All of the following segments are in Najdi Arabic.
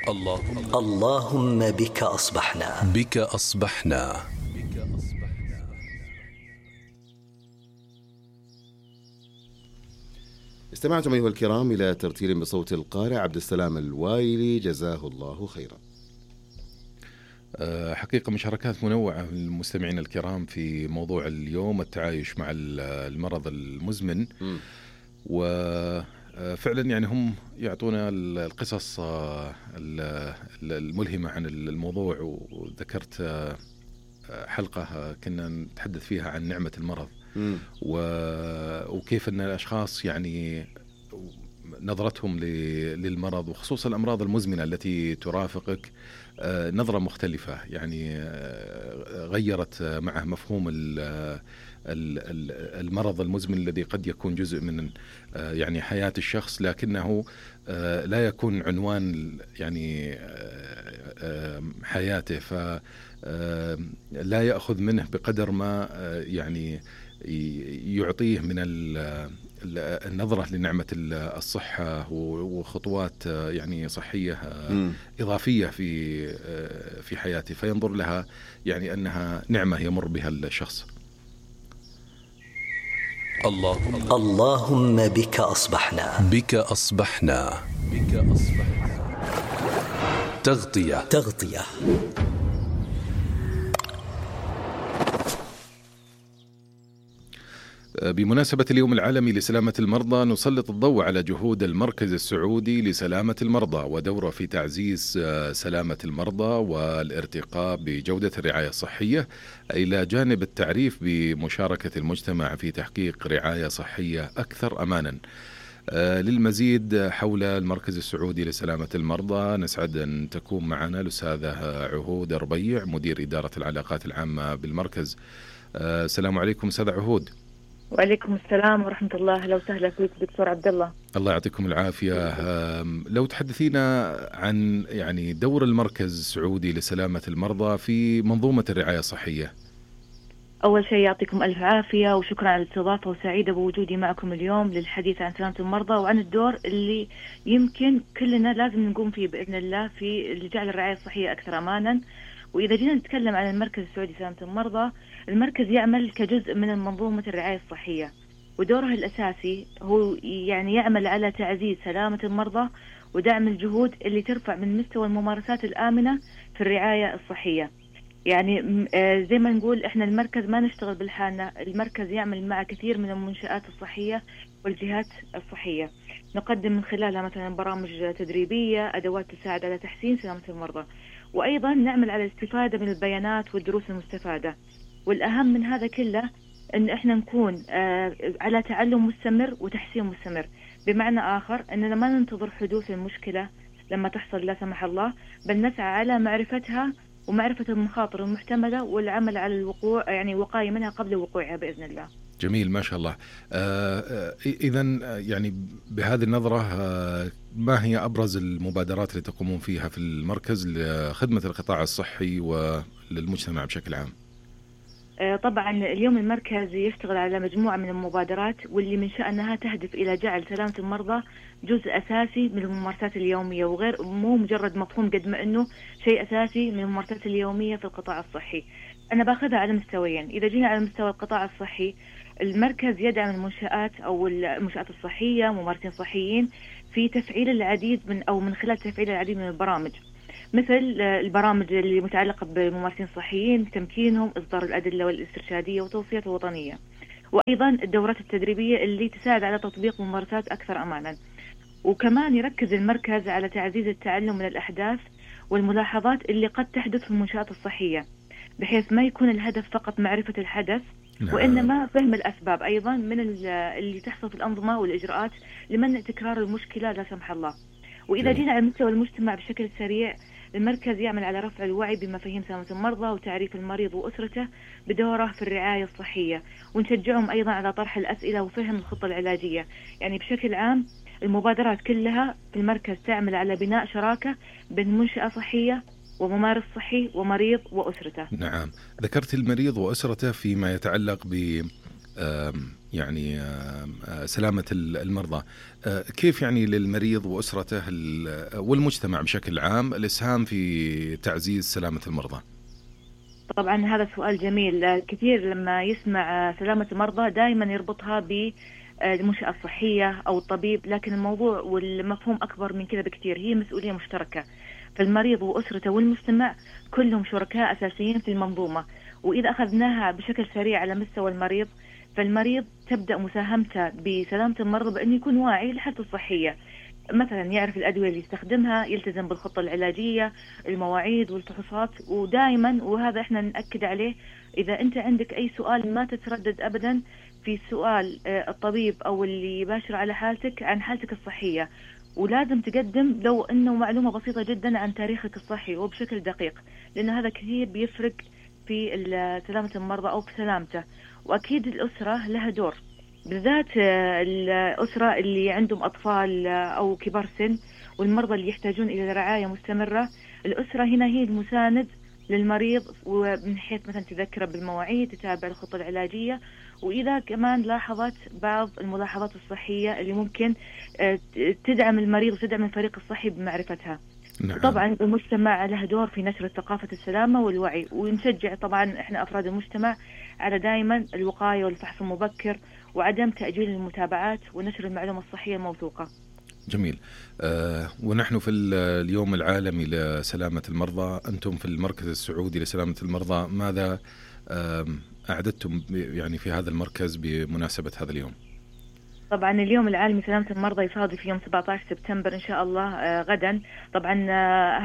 اللهم بك أصبحنا. بك أصبحنا. استمعتم أيها الكرام إلى ترتيل بصوت القارئ عبد السلام الوايلي جزاه الله خيرا. حقيقة مشاركات منوعة من المستمعين الكرام في موضوع اليوم التعايش مع المرض المزمن، وفعلا يعني هم يعطونا القصص الملهمة عن الموضوع. وذكرت حلقة كنا نتحدث فيها عن نعمة المرض وكيف أن الأشخاص يعني نظرتهم للمرض وخصوصا الأمراض المزمنة التي ترافقك نظرة مختلفة، يعني غيرت معه مفهوم المرض المزمن الذي قد يكون جزء من يعني حياة الشخص، لكنه لا يكون عنوان يعني حياته، فلا يأخذ منه بقدر ما يعني يعطيه من النظرة لنعمة الصحة وخطوات يعني صحية إضافية في حياته، فينظر لها يعني أنها نعمة يمر بها الشخص. اللهم بك أصبحنا. بك أصبحنا. بك أصبحنا. تغطية. بمناسبة اليوم العالمي لسلامة المرضى نسلط الضوء على جهود المركز السعودي لسلامة المرضى ودوره في تعزيز سلامة المرضى والارتقاء بجودة الرعاية الصحية، إلى جانب التعريف بمشاركة المجتمع في تحقيق رعاية صحية أكثر أمانا. للمزيد حول المركز السعودي لسلامة المرضى نسعد أن تكون معنا الأستاذة عهود ربيع، مدير إدارة العلاقات العامة بالمركز. السلام عليكم أستاذة عهود. وعليكم السلام ورحمة الله. أهلا وسهلا فيك دكتور عبد الله. الله يعطيكم العافية. لو تحدثينا عن يعني دور المركز السعودي لسلامة المرضى في منظومة الرعاية الصحية. أول شيء يعطيكم ألف عافية وشكرا على الاستضافة، وسعيدة بوجودي معكم اليوم للحديث عن سلامة المرضى وعن الدور اللي يمكن كلنا لازم نقوم فيه بإذن الله في جعل الرعاية الصحية أكثر أمانا. وإذا جينا نتكلم عن المركز السعودي لسلامة المرضى، المركز يعمل كجزء من منظومة الرعاية الصحية، ودوره الأساسي هو يعني يعمل على تعزيز سلامة المرضى ودعم الجهود اللي ترفع من مستوى الممارسات الآمنة في الرعاية الصحية. يعني زي ما نقول إحنا المركز ما نشتغل بالحالنا، المركز يعمل مع كثير من المنشآت الصحية والجهات الصحية، نقدم من خلالها مثلا برامج تدريبية، أدوات تساعد على تحسين سلامة المرضى، وأيضا نعمل على الاستفادة من البيانات والدروس المستفادة. والأهم من هذا كله أن إحنا نكون على تعلم مستمر وتحسين مستمر، بمعنى آخر أننا ما ننتظر حدوث المشكلة لما تحصل لا سمح الله، بل نسعى على معرفتها ومعرفة المخاطر المحتملة والعمل على الوقوع يعني وقاية منها قبل وقوعها بإذن الله. جميل ما شاء الله. إذن يعني بهذه النظرة ما هي أبرز المبادرات اللي تقومون فيها في المركز لخدمة القطاع الصحي وللمجتمع بشكل عام؟ طبعا اليوم المركز يشتغل على مجموعة من المبادرات واللي من شأنها تهدف إلى جعل سلامة المرضى جزء أساسي من الممارسات اليومية، وغير مو مجرد مفهوم قد ما أنه شيء أساسي من الممارسات اليومية في القطاع الصحي. أنا باخذها على مستويين. إذا جينا على مستوى القطاع الصحي، المركز يدعم المنشآت أو المنشآت الصحية، ممارسين صحيين، في تفعيل العديد من خلال تفعيل العديد من البرامج، مثل البرامج اللي متعلقة بالممارسين الصحيين، تمكينهم، إصدار الأدلة والاسترشادية والتوصيات الوطنية، وأيضا الدورات التدريبية اللي تساعد على تطبيق ممارسات أكثر أمانا. وكمان يركز المركز على تعزيز التعلم من الأحداث والملاحظات اللي قد تحدث في المنشآت الصحية، بحيث ما يكون الهدف فقط معرفة الحدث وإنما فهم الأسباب أيضا من اللي تحصل في الأنظمة والإجراءات لمنع تكرار المشكلة لا سمح الله. وإذا جينا على مستوى المجتمع بشكل سريع، المركز يعمل على رفع الوعي بمفاهيم سلامة المرضى وتعريف المريض وأسرته بدوره في الرعاية الصحية، ونشجعهم أيضا على طرح الأسئلة وفهم الخطة العلاجية. يعني بشكل عام المبادرات كلها في المركز تعمل على بناء شراكة بين منشأة صحية وممارس صحي ومريض وأسرته. نعم، ذكرت المريض وأسرته فيما يتعلق ب يعني سلامة المرضى. كيف يعني للمريض وأسرته والمجتمع بشكل عام الإسهام في تعزيز سلامة المرضى؟ طبعا هذا سؤال جميل. كثير لما يسمع سلامة المرضى دائما يربطها بالمنشأة الصحية أو الطبيب، لكن الموضوع والمفهوم أكبر من كذا بكثير. هي مسؤولية مشتركة، فالمريض وأسرته والمجتمع كلهم شركاء أساسيين في المنظومة. وإذا أخذناها بشكل سريع على مستوى المريض، فالمريض تبدأ مساهمته بسلامة المرضى بأن يكون واعي لحالته الصحية، مثلا يعرف الأدوية اللي يستخدمها، يلتزم بالخطة العلاجية، المواعيد والفحوصات. ودائما، وهذا احنا نأكد عليه، إذا أنت عندك أي سؤال ما تتردد أبدا في سؤال الطبيب أو اللي يباشر على حالتك عن حالتك الصحية، ولازم تقدم لو أنه معلومة بسيطة جدا عن تاريخك الصحي وبشكل دقيق، لأن هذا كثير بيفرق في سلامة المرضى أو في سلامته. وأكيد الأسرة لها دور، بالذات الأسرة اللي عندهم أطفال أو كبار سن والمرضى اللي يحتاجون إلى رعاية مستمرة. الأسرة هنا هي المساند للمريض، ومن حيث مثلا تذكره بالمواعيد، تتابع الخطة العلاجية، وإذا كمان لاحظت بعض الملاحظات الصحية اللي ممكن تدعم المريض وتدعم الفريق الصحي بمعرفتها. نعم. طبعا المجتمع له دور في نشر ثقافة السلامة والوعي، ونشجع طبعا احنا أفراد المجتمع على دائما الوقاية والفحص المبكر وعدم تأجيل المتابعات ونشر المعلومة الصحية الموثوقة. جميل. ونحن في اليوم العالمي لسلامة المرضى، أنتم في المركز السعودي لسلامة المرضى ماذا أعددتم يعني في هذا المركز بمناسبة هذا اليوم؟ طبعا اليوم العالمي سلامة المرضى يصادف يوم 17 سبتمبر إن شاء الله غدا. طبعا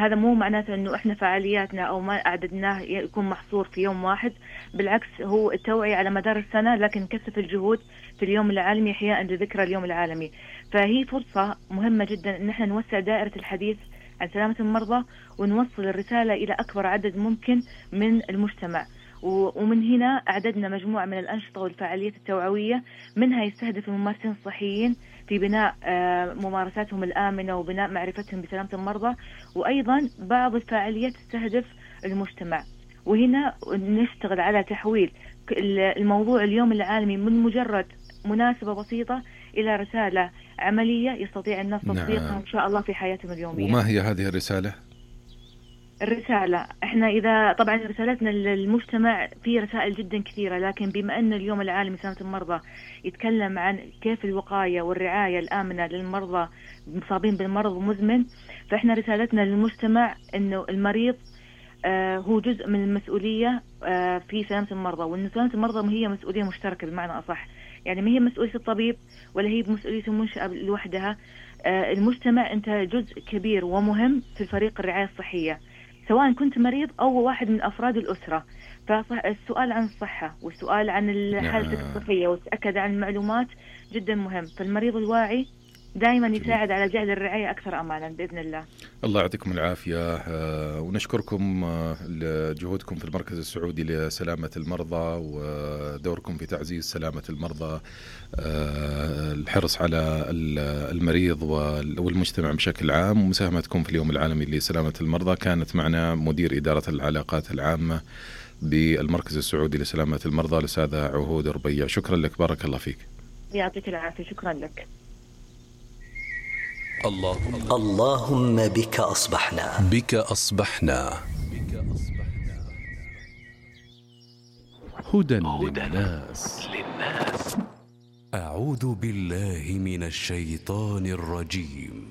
هذا مو معناته أنه إحنا فعالياتنا أو ما أعددناه يكون محصور في يوم واحد، بالعكس هو التوعية على مدار السنة، لكن نكثف الجهود في اليوم العالمي إحياء لذكرى اليوم العالمي. فهي فرصة مهمة جدا أن احنا نوسع دائرة الحديث عن سلامة المرضى ونوصل الرسالة إلى أكبر عدد ممكن من المجتمع. ومن هنا أعددنا مجموعة من الأنشطة والفعاليات التوعوية، منها يستهدف الممارسين الصحيين في بناء ممارساتهم الآمنة وبناء معرفتهم بسلامة المرضى، وأيضا بعض الفعاليات تستهدف المجتمع. وهنا نشتغل على تحويل الموضوع اليوم العالمي من مجرد مناسبة بسيطة إلى رسالة عملية يستطيع الناس تطبيقها إن شاء الله في حياتهم اليومية. وما هي هذه الرسالة؟ الرسالة احنا إذا طبعا رسالتنا للمجتمع في رسائل جدا كثيرة، لكن بما أن اليوم العالمي سلامة المرضى يتكلم عن كيف الوقاية والرعاية الآمنة للمرضى المصابين بالمرض المزمن، فاحنا رسالتنا للمجتمع أنه المريض هو جزء من المسؤولية في سلامة المرضى، وأن سلامة المرضى هي مسؤولية مشتركة بمعنى أصح، يعني ما هي مسؤولية الطبيب ولا هي مسؤولية المنشأة لوحدها. المجتمع أنت جزء كبير ومهم في فريق الرعاية الصحية، سواء كنت مريض أو واحد من أفراد الأسرة. فالسؤال عن الصحة والسؤال عن حالتك الصحية وتأكد عن المعلومات جدا مهم. فالمريض الواعي دائما يساعد على جعل الرعاية أكثر أمانا بإذن الله. الله يعطيكم العافية، ونشكركم لجهودكم في المركز السعودي لسلامة المرضى ودوركم في تعزيز سلامة المرضى، الحرص على المريض والمجتمع بشكل عام، ومساهمتكم في اليوم العالمي لسلامة المرضى. كانت معنا مدير إدارة العلاقات العامة بالمركز السعودي لسلامة المرضى الأستاذة عهود ربيع. شكرا لك، بارك الله فيك. يعطيك العافية، شكرا لك. اللهم بك أصبحنا. بك أصبحنا. هدى للناس. أعوذ بالله من الشيطان الرجيم.